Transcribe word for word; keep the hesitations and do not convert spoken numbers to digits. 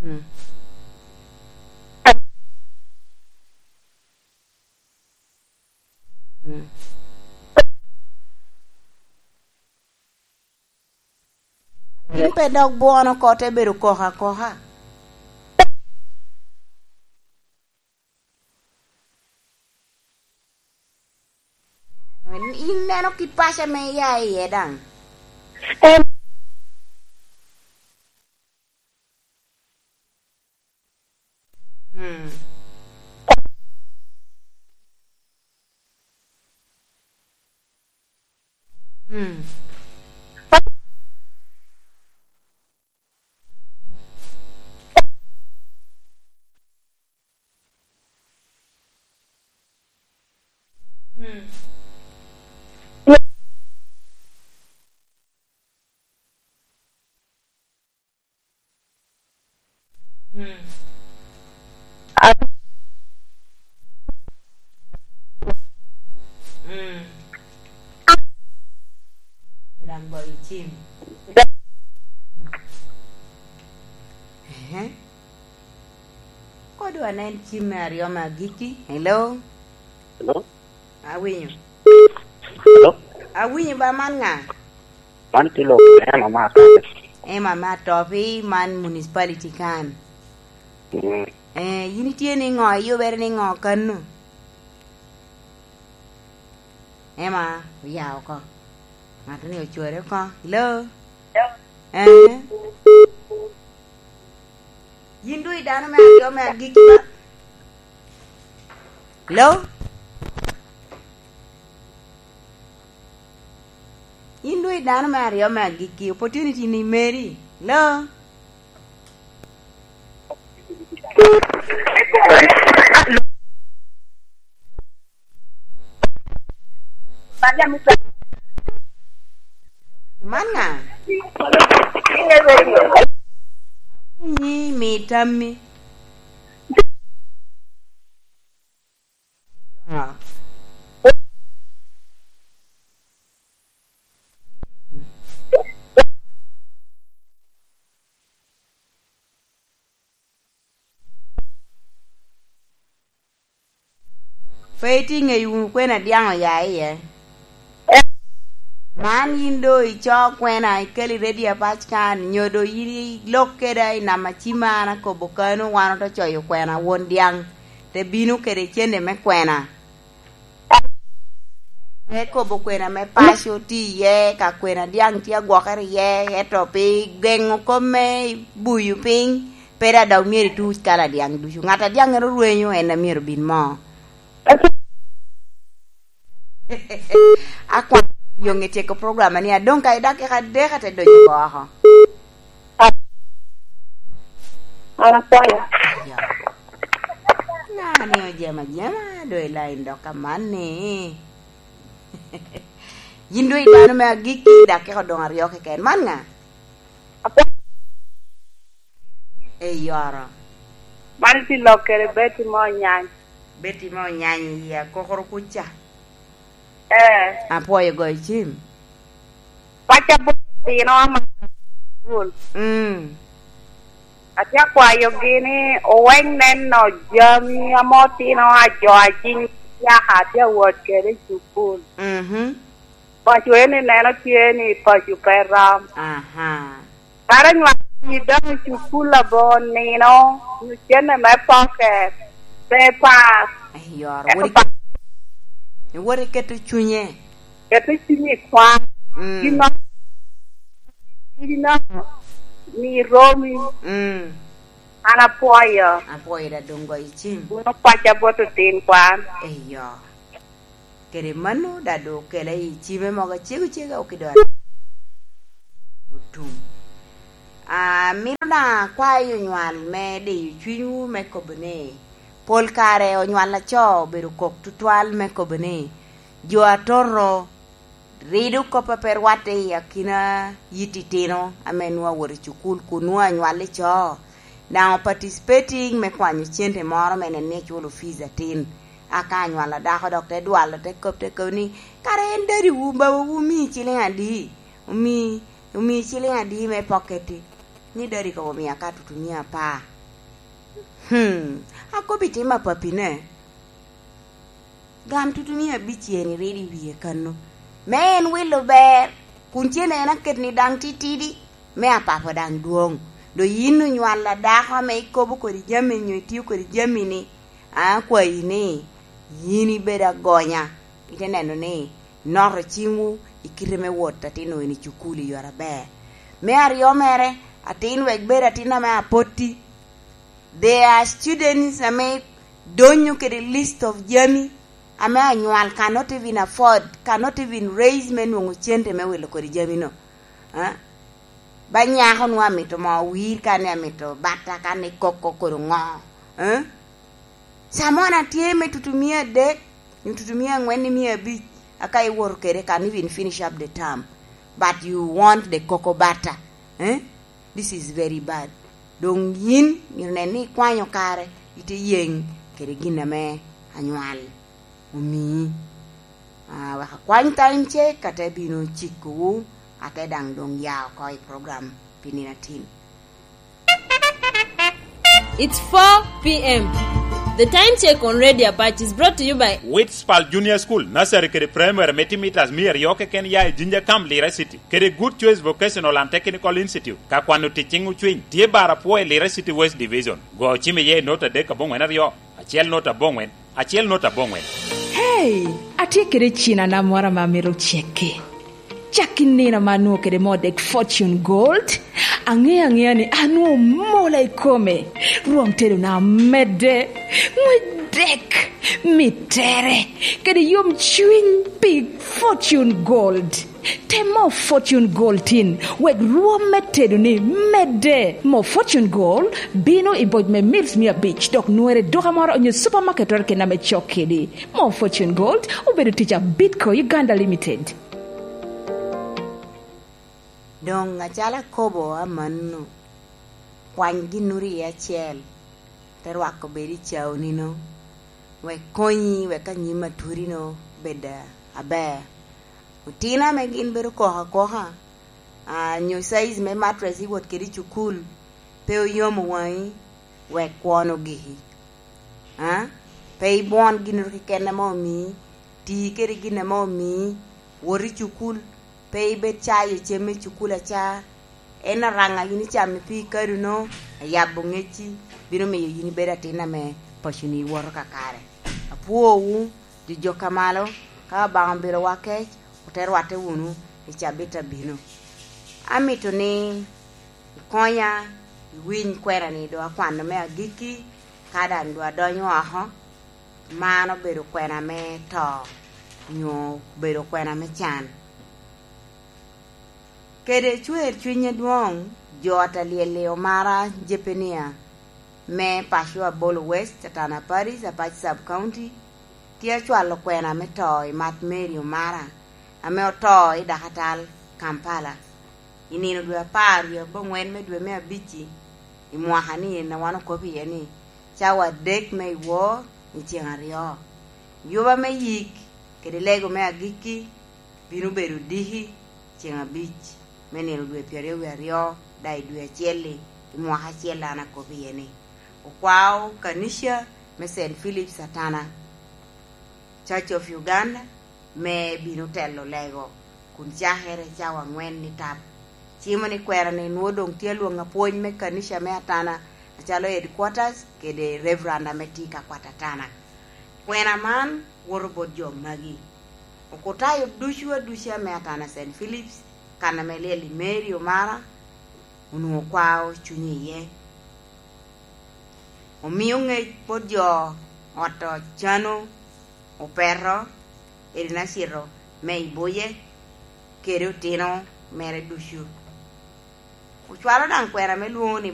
Mm. Mm. Yin pe dok bwono oko, te bedo koko akoka. In neno kit paco ame ia iye daŋ. Mm. Mm. Mm. Mm. Mm. Daŋ goyo cim. Ehe. Kodo anen cim me aryo me agikki. Hello? Hello? Awinyo. Hello? Awinyo ba, man ŋa? Man tye lok Emma me Atopi. Emma me Atopi, man municipality kan. Mm. Eh, yin itye niŋo? Iyubere niŋo kano? Emma, oya oko. Ŋattoni ocore oko. Hello? Eh? Yin doŋ i dano me aryo me agikki ba? Hello? Yin doŋ i dano me aryo me agikki, opportunity ni meri. Hello? Man ŋa? Awinyi, mi tammi. Pe itye ŋeyo wunu kwena dyaŋ oya iye. Man yin doŋ ico kwena, ikeli ready apac kan, nyo doŋ yin ilok keda i nam acima, an akobo kano, wan ote coyo kwena, won dyaŋ te bino kede cente me kwena. Te kobo kwena me paco tye iye, ka kwena dyaŋ tye agwokere iye, ento pi geŋo kop me buyo piny, pe daŋ dok myero ituc kala dyaŋ ducu. Ŋat a dyaŋŋere orwenyo, en a myero bin moo. Akwano yoŋ i tyeko program ni, adoŋ ka i dakika adek ate donyo oko. An apwoyo. Ya. Ŋa ni ojemo ajema, doŋ i lain dok aman ni. Yin doŋ i dano me agikki, dakika doŋ aryo keken. Man ŋa? Apwoyo. Eyoro. Man tye lok kede Betty mo nyany. Betty mo nyany i akokoro kuca. Eh. Apwoyo goyo cim. Paco bot otino ama cukul. Mm. Atye akwayogi ni owek neno jami ame otino ajo acing yaka atye awot kede i cukul. Mhm. Paco eni neno tye ni paco pe rom. Aha. Kara nywalo ni dano i cukul abor nino, nyo cene me pocket, papers. Eyoro, ento wot pa- iketo, wot iketo cunye. Keto cunye i kwan. Mm. Gin ma, gin ma, mi romi. Mm. An apwoyo. Apwoyo da doŋ goyo cim. Wun opaca bot otin kwan. Eyo. Kede mano, daŋ doŋ okela i cime mogo acego cega, okido otum. Amito daŋ akwayo onywal me diyo cwinywu me kobo ni, pol kare onywal laco obedo kok tutwal me kobo ni, jo atoto rido kop a pe rwatte i akina yit itino ame nwoŋo awot i cukul kun nwoŋo anywal i co. Daŋ o participating me kwanyo cente moro me neno ni eculo fees atin. Aka anywal a dako dok te dwalo, te kop, te kop ni, "Kara en dadiwu, babawu omii ciliŋ adi? Omii, omii ciliŋ adi me pocket-ti?" Ni dadi kobo mia ka tutumia apar. Hmm, akobo i tim a papine. Gam tutumia abic eni rido i wie kano. Me en wilo ber, kun cen en aket ni daŋ titidi, me apapo daŋ dwoŋ. Do yin onywalla dako ame ikobo kodi jami nyo itio kodi jami ni, akwayi ni, yin ibed agonya, ite neno ni noto ciŋwu i kite me wot atin eni i cukul i yore aber. Me aryo mere, atin wek bed atin ame apotti. There are students ame donyo kede list of jami ame anywal cannot even afford, cannot even raise me nwoŋo cente me wilo kodi jamino. Ah? Ba nyako nwa amito mo wir, kan ni amito bata, kan ni koko kodi ŋo. Ah? Samon atye me tutumia adek, nyo tutumia aŋwen ni mia abic, aka iwoto kede, can even finish up the term, but you want the cocoa butter. Eh? This is very bad. Doŋ yin myero nen ni ikwanyo kare, ite yeŋ kede gin ame anywal omii. Ah, wek akwany time check, ate bino cikowu, ate daŋ doŋ ya oko i program pi nino atin. It's four p.m. The time check on Radio Apac is brought to you by Witspal Junior School, Nursery kede Primary me timo itas mia aryo keken ya i Jinja Camp, Lira City, kede Good Choice Vocational and Technical Institute, ka kwano ticciŋ ocwiny, tye bar apwo i Lira City West Division. Go cim iye i not adek aboŋwen aryo, acel not aboŋwen, acel not aboŋwen. Hey, atye kede cin anamwara ma mito cekki. Cak i nino ma anwongo kede moo dek Fortune Gold, aŋeo aŋea ni anwongo mola i kome, rwom tedona medde, ŋwec dek, mittere, kede yom cwiny pi Fortune Gold. Tem moo Fortune Gold tin, wek rwom me tedoni medde. Moo Fortune Gold bino i boc me mils mia abic, dok nwere i duka moro onyo supermarket keken ame cok kedi. Moo Fortune Gold obedo tic a Bidco Uganda Limited. Doŋ acalo akobo amanno, kwany ginnoro iye acel, te rwako bed i caonino, wek konyi, wek anyim atwodino bed aber. Otino ame gin bedo koko akoka, ah, nyo size me mattress iwot kede i cukul, pe oyomo waŋi, wek kwon ogiki. Ah? Pe ibwon ginnoro keken ame omii, ti kede gin ame omii, wot i cukul, pe ibed cayo cem me cukul aca. En araŋa yin icamo pi kaduno, ayabo ŋecci, bino miyo yin ibed atin ame paconi woto kakare. Apwowu, jojok a malo, ka Obaŋa obilowa kec, ote rwatte wunu i cabit abino. Amito ni ikonya iwiny kwena-ni, doŋ akwano me agikki, ka daŋ doŋ adonyo oko, man obedo kwena me to, nyo obedo kwena me can. Kede cwer cwiny adwoŋ, jo a Talyel-li Omara Jepenia, me paco Abolo West, Atana Parish, Apac Sub County, tye acwalo kwena me to i Mat Mary Omara, ame oto i dakatal Kampala, i nino dwe apar wie aboŋwen me dwe me abic-ci, i mwaka-ni en a wan okobo iye ni, cawa adek me i wor i ceŋ aryo. Yuba me yik kede lego me agikki bino bedo diki ceŋ abic me nino dwe pyeraryo wie aryo, daŋ i dwe acel-li, i mwaka acel an akobo iye ni, okwao kanica me Saint Philip's Atana, Church of Uganda, me bino telo lego, kun cakere cawa aŋwen i tap. Cimo ni kwena-ni nwoŋo doŋ tye alwoŋ apwony me kanica me Atana, acalo headquarters kede Reverend ame tye ka kwat Atana. Kwena man woto bot jo magi. Okutayo ducu aduca me Atana Saint Philip's, kan ame lyel i Mary Omara, onwoŋo kwao cunye iye. Omio ŋec bot jo ot Ocano, Opeto, Erinacito me Iboye, kede otino mere ducu. Ocwalo daŋ kwena me lwoŋo ni